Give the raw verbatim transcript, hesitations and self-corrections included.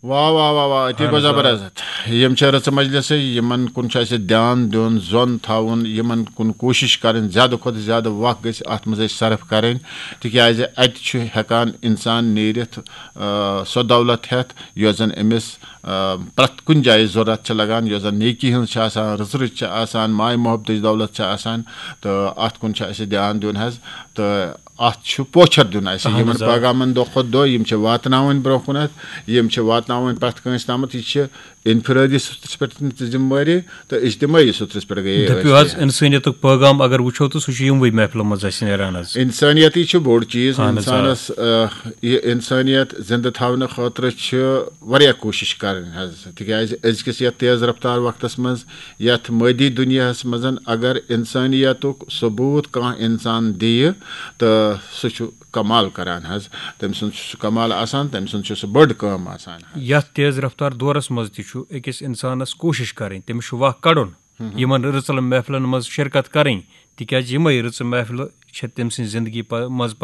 واہ واہ واہ واہ، أتی گوٚو زبردست۔ یِم چھِ رٕژٕ مجلسٕے، یِمن کُن چھُ اَسہِ دیان دیُن، زۄن تھاوُن، یِمن کُن کوٗشِش کرٕنۍ، زیادٕ کھۄتہٕ زیادٕ وقت گژھِ اَتھ منٛز اَسہِ صرف کرٕنۍ، تِکیازِ اَتہِ چھُ ہٮ۪کان اِنسان نیٖرِتھ، آ، سۄ دولت ہٮ۪تھ، یۄس زن أمِس، آ، پرٛٮ۪تھ کُنہِ جایہِ ضروٗرت چھِ لگان، یۄس زن نیکی ہٕنٛز چھِ آسان، رٕژٕ رٕژ چھِ آسان، ماے محبتٕچ دولت چھِ آسان، تہٕ اَتھ کُن چھُ اَسہِ دیان دیُن حظ۔ تہٕ اَتھ چھُ پوچھر دیُن اَسہِ۔ اَہَن یِمن حظ، آ۔ پیغامن دۄہ کھۄتہٕ دۄہ، یِم چھِ واتناوٕنۍ برٛونٛہہ کُنتھ، یِم چھِ واتناوٕنۍ پرٛٮ۪تھ کٲنٛسہِ تامَتھ۔ یہِ چھِ انفرٲدی سطحس پٮ۪ٹھ تہِ ذمہٕ وٲری تہٕ اجتمٲعی سطحس پٮ۪ٹھ گٔیے دٔپِو أسۍ حظ، تہِ۔ اِنسٲنیتُک پیغام اگر وٕچھو، تہٕ سُہ چھُ یِموٕے محفلو منٛز اَسہِ نیران حظ۔ اِنسٲنیتٕے چھُ بوٚڑ چیٖز۔ اَہَن حظ، آ۔ اِنسانَس، آ، یہِ اِنسٲنیت زِندٕ تھاونہٕ خٲطرٕ چھِ واریاہ کوٗشِش کَرٕنۍ حظ، تِکیٛازِ أزکِس یَتھ تیز رفتار وقتَس منٛز، یَتھ مٲدی دُنیاہَس منٛز، اگر اِنسٲنیتُک ثبوٗت کانٛہہ اِنسان دِیہِ، تہٕ سُہ چھُ کمال کران حظ۔ تٔمۍ سُنٛد چھُ سُہ کمال آسان، تٔمۍ سُنٛد چھُ سُہ بٔڑ کٲم آسان حظ۔ یَتھ تیز رفتار دورس منٛز تہِ چھُ أکِس اِنسانس کوٗشِش کرٕنۍ، تٔمِس چھُ وق کڑُن، یِمن رٕژن محفلن منٛز شرکت کرٕنۍ، تِکیازِ یِمے رٕژٕ محفلہٕ چھِ تٔمۍ سٕنٛزِ زندگی پ-، منٛز